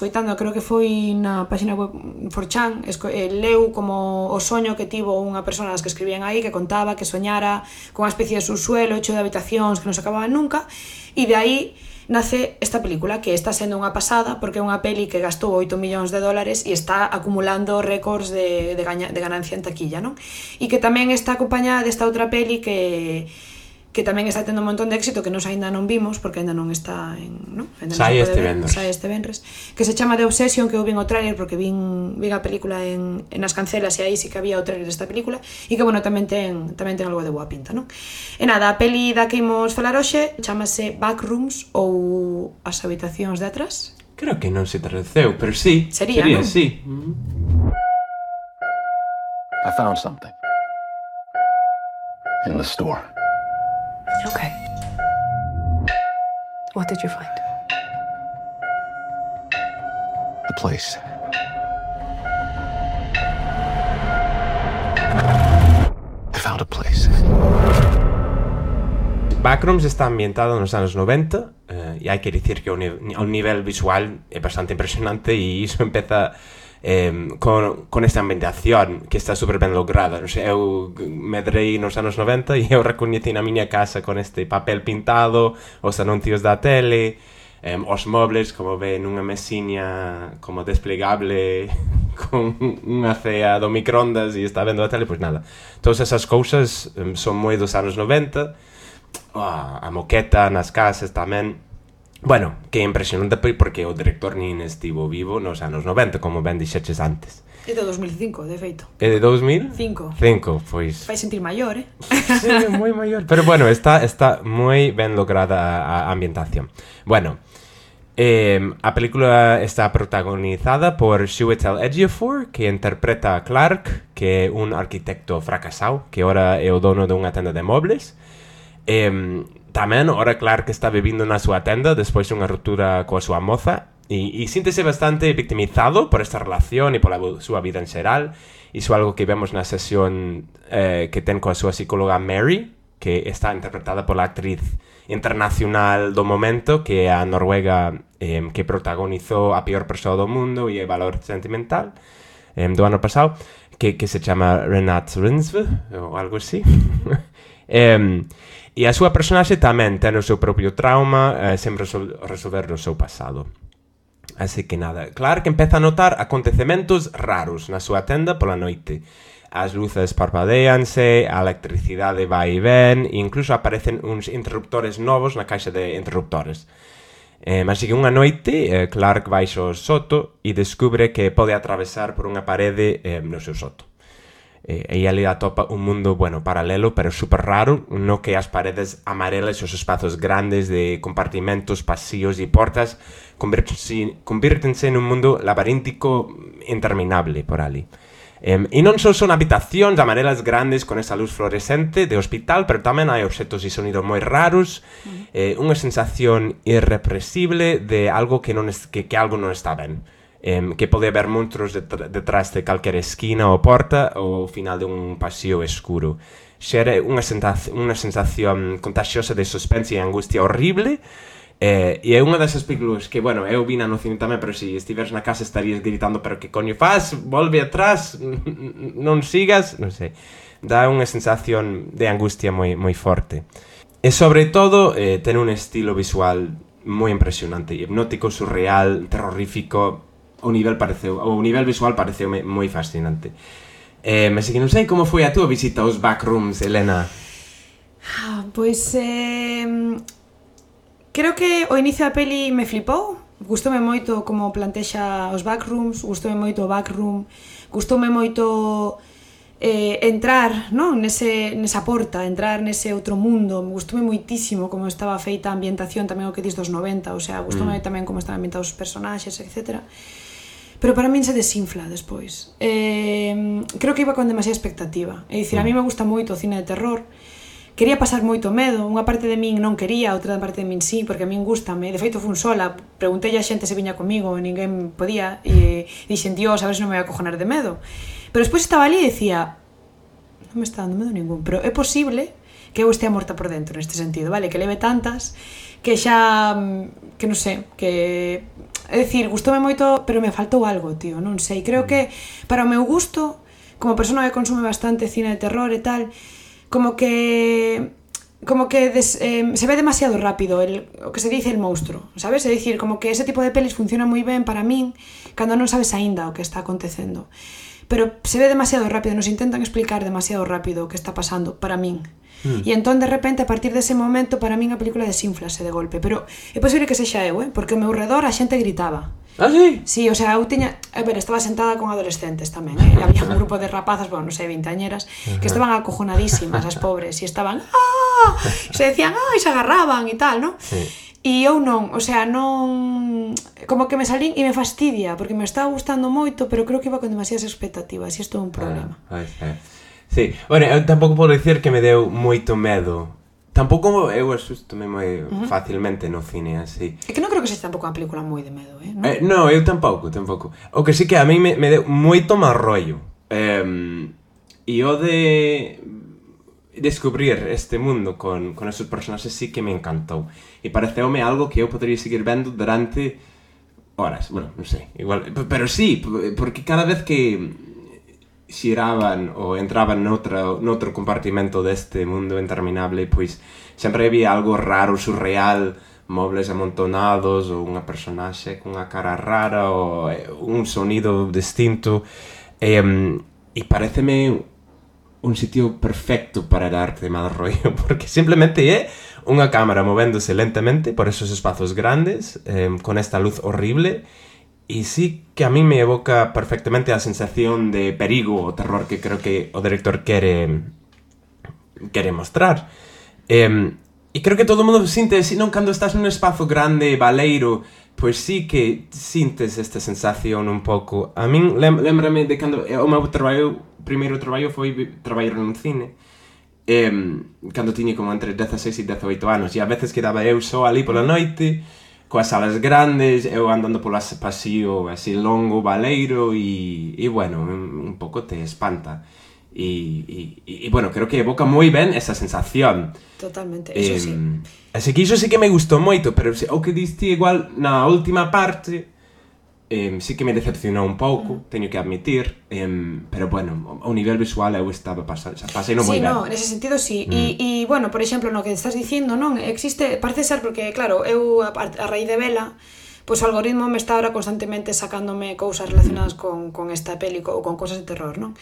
Coitando, creo que foi na página web 4chan, leu como o soño que tivo unha persona das que escribían aí, que contaba que soñara con unha especie de subsuelo hecho de habitacións que non se acababan nunca, e de aí nace esta película, que está sendo unha pasada porque é unha peli que gastou 8 millóns de dólares e está acumulando récords de ganancia en taquilla, non? E que tamén está acompañada desta outra peli que tamén está tendo un montón de éxito, que nos aínda non vimos porque aínda non está en, non? Sai este venres, que se chama The Obsession, que eu vin o tráiler porque vin a película en as cancelas e aí sí que había o tráiler desta película e que, bueno, tamén ten algo de boa pinta, non? E nada, a peli da que imos falar hoxe chamase Backrooms ou As habitacións de atrás. Creo que non se traduceu, pero sí. Sería, non? Sí. I found something in the store. Okay. What did you find? A place. I found a place. Backrooms está ambientado nos anos 90 e hai que dicir que o nivel visual é bastante impresionante e iso empeza con esta ambientación que está super ben lograda. Non sei, eu medrei nos anos 90 e eu recoñeci na miña casa con este papel pintado, os anuncios da tele, os mobles, como ven, unha mesiña como desplegable con unha cea do microondas e está vendo a tele, pois nada. Todas esas cousas son moi dos anos 90, a moqueta nas casas tamén. Bueno, que é impresionante porque o director nin estivo vivo nos anos 90, como ben dixeches antes. É de 2005, de feito. É de 2000? 5, pois... Fai sentir maior, Sí, moi maior. Pero bueno, está moi ben lograda a ambientación. Bueno, a película está protagonizada por Chiwetel Ejiofor, que interpreta a Clark, que é un arquitecto fracasado, que ora é o dono dunha tenda de mobles. Tamén, ora Clark está vivindo na súa tenda despois dunha ruptura coa súa moza e síntese bastante victimizado por esta relación e pola súa vida en xeral. Iso é algo que vemos na sesión que ten coa súa psicóloga Mary, que está interpretada pola actriz internacional do momento, que é a noruega que protagonizou A peor persoa do mundo e Valor sentimental do ano pasado, que se chama Renate Reinsve ou algo así. E a súa personaxe tamén ten o seu propio trauma sen resolver o seu pasado. Así que nada, Clark empeza a notar acontecementos raros na súa tenda pola noite. As luces parpadeanse, a electricidade vai e ven, e incluso aparecen uns interruptores novos na caixa de interruptores. Así que unha noite, Clark vai ao soto e descubre que pode atravesar por unha parede no seu soto. E ali atopa un mundo, bueno, paralelo, pero super raro, no que as paredes amarelas e os espazos grandes de compartimentos, pasillos e portas convírtense nun mundo laberíntico interminable por ali. E non só son habitacións amarelas grandes con esa luz fluorescente de hospital, pero tamén hai obxetos e sonidos moi raros, unha sensación irrepresible de algo que algo non está ben. Que pode haber monstruos detrás de calquera esquina ou porta ou ao final de un pasillo escuro. Xera unha sensación contagiosa de suspense e angustia horrible, e é unha desas películas que, bueno, eu vina no cine tamén, pero se estiveres na casa estarías gritando, pero que coño faz? Volve atrás, non sigas, non sei. Dá unha sensación de angustia moi forte. E sobre todo, ten un estilo visual moi impresionante, hipnótico, surreal, terrorífico. O nivel visual pareceu moi fascinante. Mas que non sei como foi a túa visita aos Backrooms, Elena. Pois creo que o inicio da peli me flipou. Gustoume moito como plantexa os Backrooms, gustoume moito o Backroom, gustoume moito entrar, non, nesa porta, entrar nese outro mundo. Me gustoume moitísimo como estaba feita a ambientación, tamén o que dis dos 90, o sea, gustoume tamén como estaban ambientados os personaxes, etc. Pero para min se desinfla despois. Creo que iba con demasiada expectativa. É dicir, a mí me gusta moito o cine de terror. Quería pasar moito medo. Unha parte de min non quería, outra parte de min sí, porque a min gustame. De feito, fun sola. Preguntei a xente se viña comigo e ninguén podía. E dixen, Dios, a ver se non me vai a cojonar de medo. Pero despois estaba ali e decía, non me está dando medo ningún. Pero é posible que eu estea morta por dentro neste sentido, vale? Que leve tantas que xa, que non sei, que É dicir, gustoume moito, pero me faltou algo, tío, non sei. Creo que para o meu gusto, como persona que consume bastante cine de terror e tal, como que se ve demasiado rápido o que se dice el monstruo, sabes? É dicir, como que ese tipo de pelis funciona moi ben para min cando non sabes aínda o que está acontecendo. Pero se ve demasiado rápido, nos intentan explicar demasiado rápido o que está pasando para min. E entón, de repente, a partir dese momento, para min a película desinflase de golpe. Pero é posible que sexa eu, porque ao meu redor a xente gritaba. Ah, sí? Sí, o sea, eu tiña... A ver, estaba sentada con adolescentes tamén, e había un grupo de rapazas, bueno, non sei, veinteañeras, que estaban acojonadísimas, as pobres, e estaban... ¡Ah! E se decían, ¡ah! E se agarraban e tal, non? Sí. E eu non, o sea, non... Como que me salín e me fastidia, porque me estaba gustando moito, pero creo que iba con demasiadas expectativas, e isto é un problema. Sí, bueno, eu tampouco podo dicir que me deu moito medo. Tampouco eu asustome moi facilmente no cine, así. É que non creo que sexa tampouco unha película moi de medo, non? No, eu tampouco. O que sí que a mí me deu moito máis rollo. E o de descubrir este mundo con esos personaxes sí que me encantou. E pareceume algo que eu podría seguir vendo durante horas. Bueno, non sei, igual, pero sí, porque cada vez que xiraban ou entraban noutro compartimento deste mundo interminable, pois sempre había algo raro, surreal, mobles amontonados, ou unha personaxe cunha cara rara, ou un sonido distinto, e pareceme un sitio perfecto para darte mal rollo, porque simplemente é unha cámara movéndose lentamente por esos espazos grandes, con esta luz horrible. E sí que a mí me evoca perfectamente a sensación de perigo o terror que creo que o director quere mostrar. E creo que todo o mundo sinte, senón cando estás nun espazo grande, baleiro, pois sí que sintes esta sensación un pouco. A min lembrame de cando o meu primeiro traballo foi traballar nun cine, cando tiña como entre 16 e 18 anos, e a veces quedaba eu só ali pola noite, coas salas grandes, eu andando polo pasillo así longo, baleiro, e bueno, un pouco te espanta. E bueno, creo que evoca moi ben esa sensación. Totalmente, eso sí. Así que iso sí que me gustou moito, pero o que diste igual na última parte, sí que me decepcionou un pouco, teño que admitir, pero bueno, ao nivel visual eu estaba pasei no moi ben. Sí, no, nese sentido sí. E bueno, por exemplo, no que estás dicindo, non, existe, parece ser porque claro, eu a raíz de vela, pois o algoritmo me está ahora constantemente sacándome cousas relacionadas con esta peli ou con cosas de terror, non?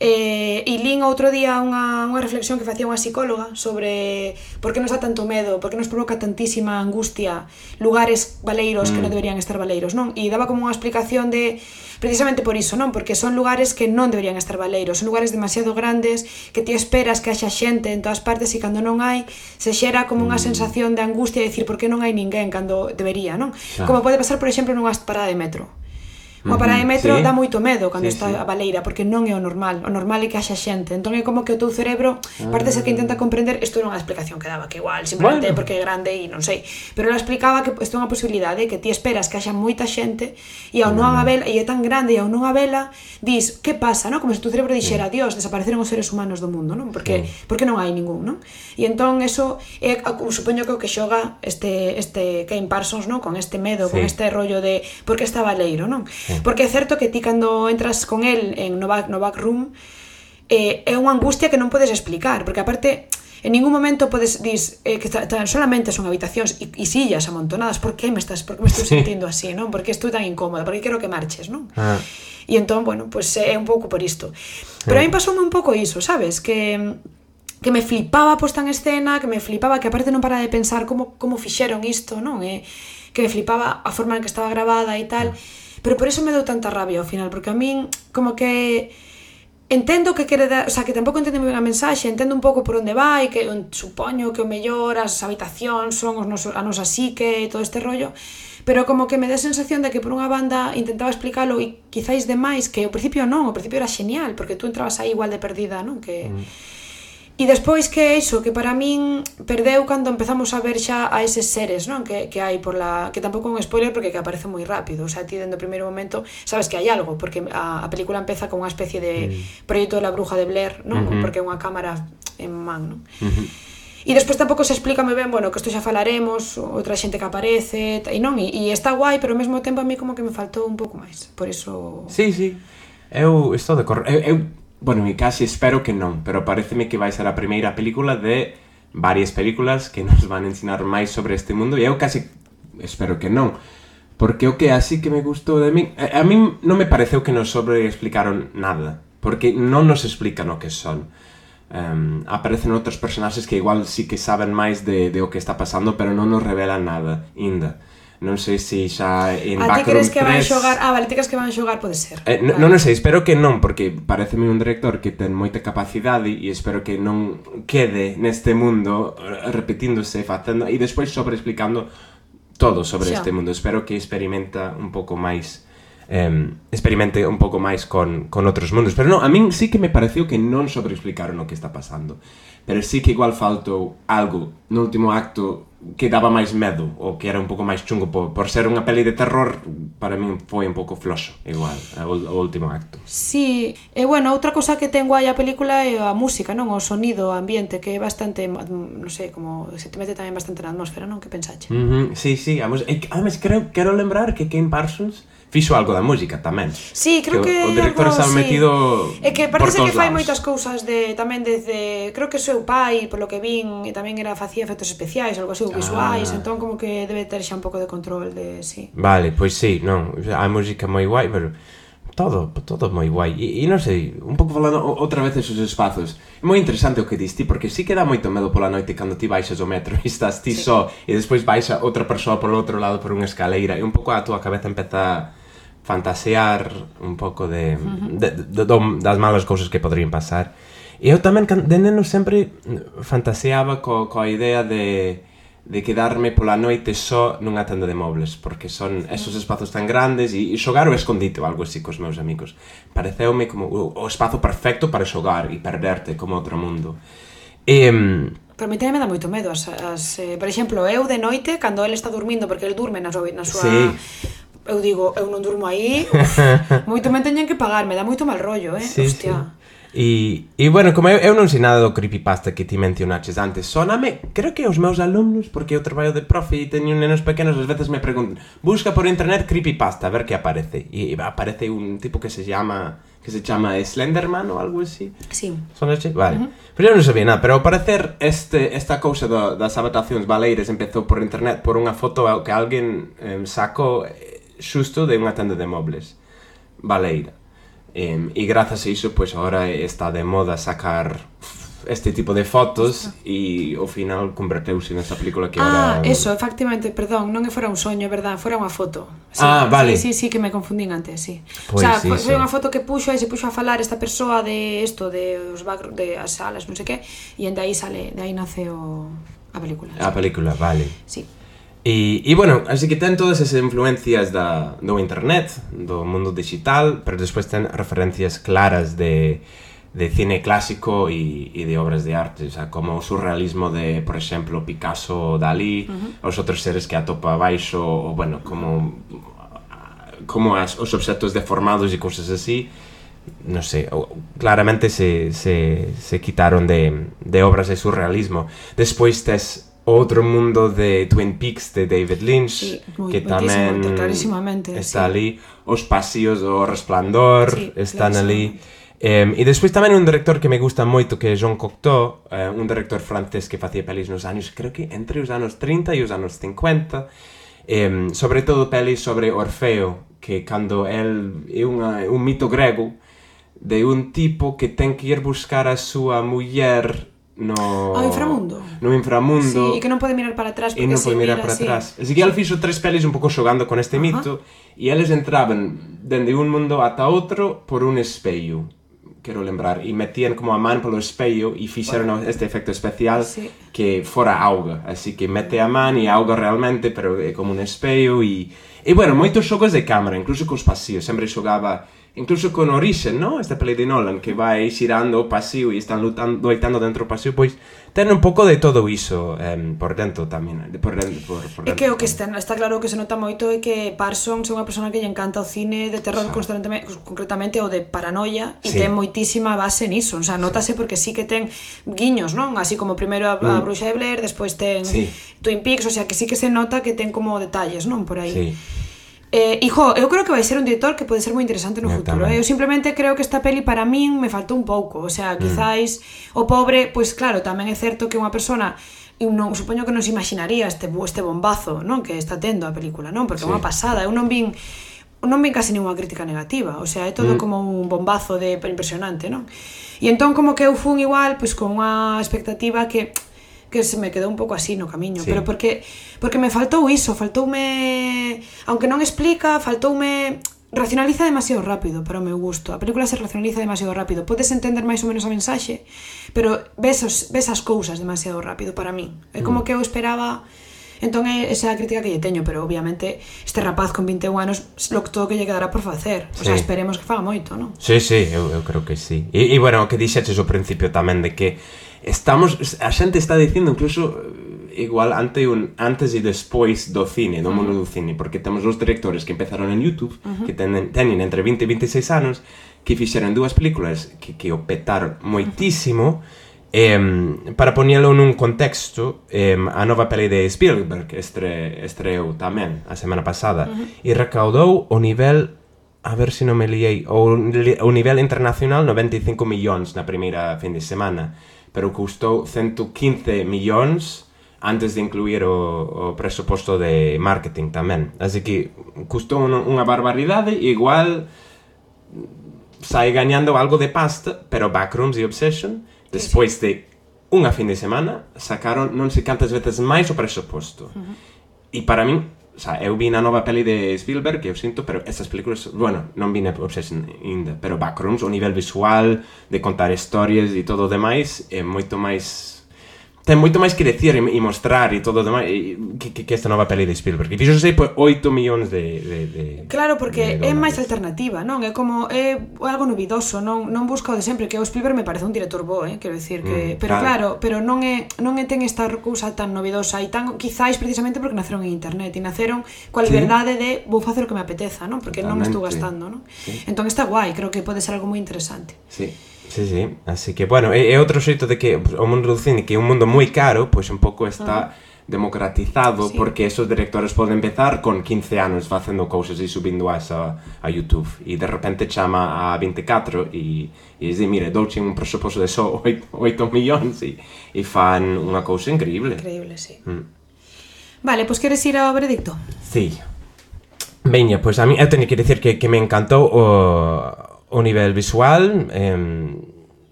E lín outro día unha reflexión que facía unha psicóloga sobre por que nos dá tanto medo, por que nos provoca tantísima angustia lugares baleiros que non deberían estar baleiros, non? E daba como unha explicación de precisamente por iso, non? Porque son lugares que non deberían estar baleiros, son lugares demasiado grandes que ti esperas que haxa xente en todas partes e cando non hai se xera como unha sensación de angustia de dicir por que non hai ninguén cando debería, non? Como pode pasar, por exemplo, nunha parada de metro. Unha parada de metro dá moito medo cando está a baleira, porque non é o normal é que haxa xente, entón é como que o teu cerebro parte ser que intenta comprender, isto era unha explicación que daba, que igual, simplemente porque é grande e non sei, pero ela explicaba que isto é unha posibilidade, que ti esperas que haxa moita xente e ao non a vela, e é tan grande e ao non a vela, dis, que pasa, non? Como se o teu cerebro dixera, Dios, desapareceron os seres humanos do mundo, non? Porque non hai ningún, non? E entón eso é, supoño que o que xoga este Kane Parsons, non? Con este medo, con este rollo de por que está baleiro, non? Porque é certo que ti cando entras con el no backroom é unha angustia que non podes explicar, porque aparte en ningún momento podes dis que solamente son habitacións e sillas amontonadas, por que me estou sentindo así, non? Por que estou tan incómoda, por que quero que marches, non? E entón, bueno, pues é un pouco por isto. Pero a mí pasoume un pouco iso, sabes? Que me flipaba a posta en escena, que me flipaba, que aparte non para de pensar como fixeron isto, non? Que me flipaba a forma en que estaba grabada e tal. Pero por eso me deu tanta rabia ao final, porque a min como que entendo que quere dar, o sea, que tampouco entendo ben a mensaxe, entendo un pouco por onde vai, que supoño que o mellor as habitacións son a nosa psique e todo este rollo, pero como que me dá a sensación de que por unha banda intentaba explicalo e quizáis demais, que ao principio non, ao principio era genial, porque tú entrabas aí igual de perdida, non? Que e despois que iso, que para min perdeu cando empezamos a ver xa a eses seres, non? Que hai que tampouco é un spoiler porque que aparece moi rápido, o sea, ti dentro do primeiro momento sabes que hai algo, porque a película empeza con unha especie de proxecto de la bruja de Blair, non? Porque é unha cámara en man, non? E despois tampouco se explica moi ben, bueno, que isto xa falaremos, outra xente que aparece, e non, e está guai, pero ao mesmo tempo a mí como que me faltou un pouco máis, por iso... Sí, eu estou de acordo. Bueno, e casi espero que non, pero pareceme que vai ser a primeira película de varias películas que nos van a ensinar máis sobre este mundo, e eu casi espero que non. Porque o que así que me gustou de mí... A mí non me pareceu que nos sobreexplicaron nada. Porque non nos explican o que son. Aparecen outros personaxes que igual sí que saben máis de o que está pasando, pero non nos revelan nada, ainda. Non sei se xa en Backroom 3... A ti crees que van xogar... vale, ti crees que van xogar, pode ser. Non sei, espero que non, porque pareceme un director que ten moita capacidade e espero que non quede neste mundo repetíndose, facendo... E despois sobreexplicando todo sobre este mundo. Espero que experimente un pouco máis con outros mundos. Pero non, a min sí que me pareceu que non sobreexplicaron o que está pasando. Pero sí que igual faltou algo no último acto que daba máis medo, ou que era un pouco máis chungo por ser unha peli de terror. Para min foi un pouco floxo, igual, o último acto. Sí, e bueno, outra cosa que ten guai a película é a música, non? O sonido, o ambiente, que é bastante, non sei, como se te mete tamén bastante na atmósfera, non? Que pensache? Sí, además quero lembrar que Ken Parsons fixo algo da música tamén. Sí, creo que o director algo, estaba metido é que parece que fai lados. moitas cousas tamén desde, creo que seu pai, polo que vin, e tamén facía efectos especiais, algo así, visuais, entón como que debe ter xa un pouco de control de, sí. Vale, pois sí, non, a música moi guai, pero todo moi guai. E non sei, un pouco falando outra vez esos espazos. É moi interesante o que diste, porque sí que dá moito medo pola noite cando ti baixas o metro e estás ti só, e despois baixa outra persoa polo outro lado por unha escaleira, e un pouco a túa cabeza empeza fantasear un pouco das malas cousas que poderían pasar. E eu tamén de neno sempre fantaseaba coa idea de quedarme pola noite só nunha tenda de mobles, porque son esos espazos tan grandes e xogar o escondite ou algo así cos meus amigos. Pareceume como o espazo perfecto para xogar e perderte como outro mundo. Pero a mí tamén me dá moito medo por exemplo, eu de noite, cando ele está dormindo, porque ele durme na súa... Sí. Eu digo, eu non durmo aí, moito me teñen que pagar, me dá moito mal rollo, sí, hostia. Sí. E bueno, como eu non sei nada do creepypasta que ti mencionaches antes, soname, creo que os meus alumnos, porque eu traballo de profe e teño nenos pequenos, ás veces me preguntan, busca por internet creepypasta, a ver que aparece. E aparece un tipo que se chama Slenderman ou algo así. Sí. Son este? Vale. Pero eu non sabía nada, pero ao parecer esta cousa das adaptacións baleiras empezou por internet por unha foto que alguén sacou xusto de unha tenda de mobles baleira. E grazas a iso, pois agora está de moda sacar este tipo de fotos e ao final converteuse nesa película que agora... eso, efectivamente, perdón, non fora un soño, verdad, fora unha foto. Sí, vale. Sí, que me confundín antes, sí. Pues, o sea, foi unha foto que puxo e se puxo a falar esta persoa de isto, de as salas, non sei que, e de aí nace a película. A película, vale. Sí. E bueno, así que ten todas esas influencias do internet, do mundo digital, pero despois ten referencias claras de cine clásico e de obras de arte, o sea, como o surrealismo de, por exemplo, Picasso ou Dalí, os outros seres que atopa abaixo, ou bueno, como os obxectos deformados e cousas así. Non sei, claramente se quitaron de obras de surrealismo. Despois tes outro mundo de Twin Peaks de David Lynch, sí, que tamén está ali. Os pasillos do Resplandor están ali. E despois tamén un director que me gusta moito, que é Jean Cocteau, un director francés que facía pelis nos anos, creo que entre os anos 30 e os anos 50, sobre todo pelis sobre Orfeo, que cando el é un mito grego de un tipo que ten que ir buscar a súa muller no inframundo, sí, e que non pode mirar para atrás, e non pode mirar para atrás. Así que ele fixo 3 pelis un pouco xogando con este mito, e eles entraban dende un mundo ata outro por un espello, quero lembrar, e metían como a man polo espello e fixeron este efecto especial que fora auga, así que mete a man e auga realmente, pero é como un espello. E bueno, moitos xogos de cámara, incluso cos pasillos, sempre xogaba incluso con Origen, ¿no? Esta peli de Nolan, que vai xirando o paseo e están loitando dentro do paseo, pois ten un pouco de todo iso por dentro tamén, por dentro. É que o que está claro que se nota moito é que Parsons é unha persona que lle encanta o cine de terror constantemente, concretamente o de paranoia, e ten moitísima base niso, o sea, notase porque sí que ten guiños, non? Así como primeiro a Bruxa de Blair, despois ten Twin Peaks, o sea, que sí que se nota que ten como detalles, non? Por aí. Sí. Eu creo que vai ser un director que pode ser moi interesante no futuro. Eu simplemente creo que esta peli para min me faltou un pouco. O sea, quizáis o pobre, pois claro, tamén é certo que unha persona, non, supoño que non se imaginaría este bombazo, non, que está tendo a película, non? Porque é unha pasada. Eu non vin casi ninguna crítica negativa. O sea, é todo como un bombazo de impresionante, non? E entón como que eu fun igual, pois con unha expectativa que se me quedou un pouco así no camiño, pero porque me faltou iso, faltoume, aunque non explica, faltoume, racionaliza demasiado rápido para o meu gusto. A película se racionaliza demasiado rápido. Podes entender máis ou menos a mensaxe, pero ves as cousas demasiado rápido para min. É como que eu esperaba. Entón esa é a crítica que lle teño, pero obviamente este rapaz con 21 anos todo que lle quedará por facer. O sea, esperemos que faga moito, non? Sí, eu creo que sí. E bueno, o que dixeches ao principio tamén de que a xente está dicindo incluso igual antes e despois do cine, do mundo do cine, porque temos os directores que empezaron en YouTube, que teñen entre 20 e 26 anos, que fixeron dúas películas que o petaron moitísimo. Para poñelo nun contexto, a nova peli de Spielberg estreou tamén a semana pasada e recaudou o nivel, a ver se non me liei, o nivel internacional 95 millóns na primeira fin de semana, pero custou 115 millóns antes de incluir o presuposto de marketing tamén. Así que custou unha barbaridade e igual sai gañando algo de pasta, pero Backrooms e Obsession, despois de unha fin de semana, sacaron non sei cantas veces máis o presuposto. E para min, o sea, eu vi na nova peli de Spielberg, que eu sinto, pero estas películas, bueno, non vi na Obsession ainda, pero Backrooms, o nivel visual, de contar historias e todo o demais, é moito máis... Ten moito máis que decir e mostrar e todo o demais que esta nova peli de Spielberg. E fixo sei por 8 millóns de claro, porque é máis alternativa, non? É como é algo novidoso, non busca o de sempre, que o Spielberg me parece un director bo, quero decir que, pero claro, pero non é ten esta cousa tan novidosa e tan quizáis precisamente porque naceron en internet e naceron coa liberdade de vou facer o que me apeteza, non? Porque non me estou gastando, non? Entón está guai, creo que pode ser algo moi interesante. Sí. Sí, así que, bueno, é outro xeito de que o mundo do cine, que é un mundo moi caro, pois un pouco está democratizado, porque esos directores poden empezar con 15 anos facendo cousas e subindo a YouTube, e de repente chama a 24 e dice, mire, douche un presuposto de só 8 millóns e fan unha cousa increíble. Increíble, sí. Vale, pois queres ir ao veredicto? Sí. Veña, pois a mí eu teño que dicir que me encantou o nivel visual,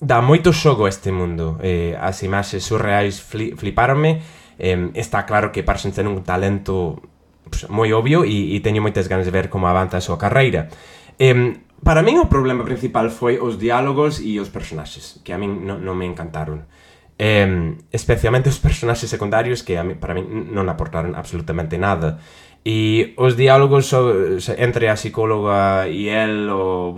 dá moito xogo este mundo, as imaxes surreais fliparonme, está claro que Parsons ten un talento moi obvio e teño moitas ganas de ver como avanza a súa carreira. Para min o problema principal foi os diálogos e os personaxes, que a min non me encantaron. Especialmente os personaxes secundarios que para min non aportaron absolutamente nada. E os diálogos entre a psicóloga e el, o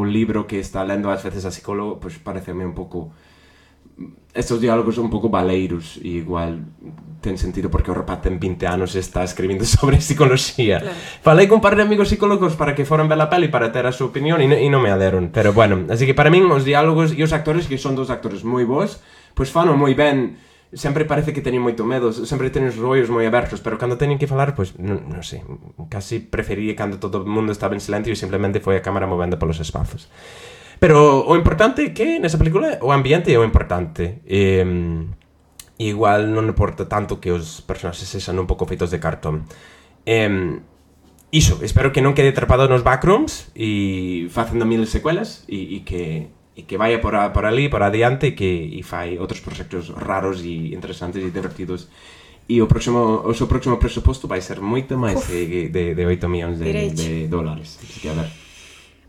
libro que está lendo ás veces a psicólogo, pois pareceme un pouco... Estos diálogos un pouco baleiros e igual ten sentido porque o rapaz ten 20 anos e está escribindo sobre psicología. Claro. Falei con un par de amigos psicólogos para que foran ver a peli para ter a súa opinión e non me aderon, pero bueno, así que para min os diálogos e os actores, que son dos actores moi bons, pois fano moi ben. Sempre parece que teñen moito medo, sempre teñen os rollos moi abertos, pero cando teñen que falar, pois, non sei, casi prefería cando todo o mundo estaba en silencio e simplemente foi a cámara movendo polos espazos. Pero o importante é que nesa película o ambiente é o importante. Igual non importa tanto que os personaxes sexan un pouco feitos de cartón. Iso, espero que non quede atrapado nos Backrooms e facendo 1000 secuelas e que vaya por ali, por adiante e fai outros proxectos raros e interesantes e divertidos. E o seu próximo presuposto vai ser moito máis de 8 millóns de dólares. Así que a ver.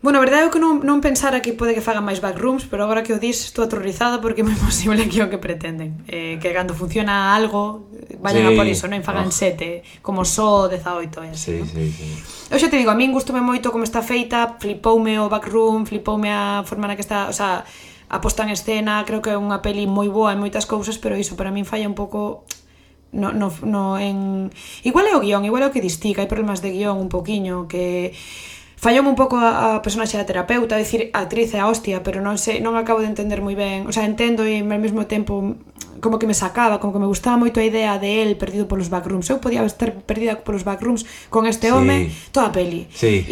Bueno, a verdade é que non pensara que pode que fagan máis backrooms, pero agora que o dis estou aterrorizada porque é moi posible que o que pretenden. Que cando funciona algo, vayan a por iso, non? Fagan 7, como só 18 e así, Sí. Eu xa te digo, a min gustoume moito como está feita, flipoume o backroom, flipoume a forma na que está, o sea, a posta en escena, creo que é unha peli moi boa en moitas cousas, pero iso para min falla un pouco igual é o guión, igual é o que distica, hai problemas de guión un poquiño que falloume un pouco a personaxe da terapeuta, a decir, a actriz é a hostia, pero non acabo de entender moi ben, o sea, entendo e ao mesmo tempo como que me sacaba, como que me gustaba moito a idea de él perdido polos backrooms. Eu podía estar perdida polos backrooms con este home toda a peli.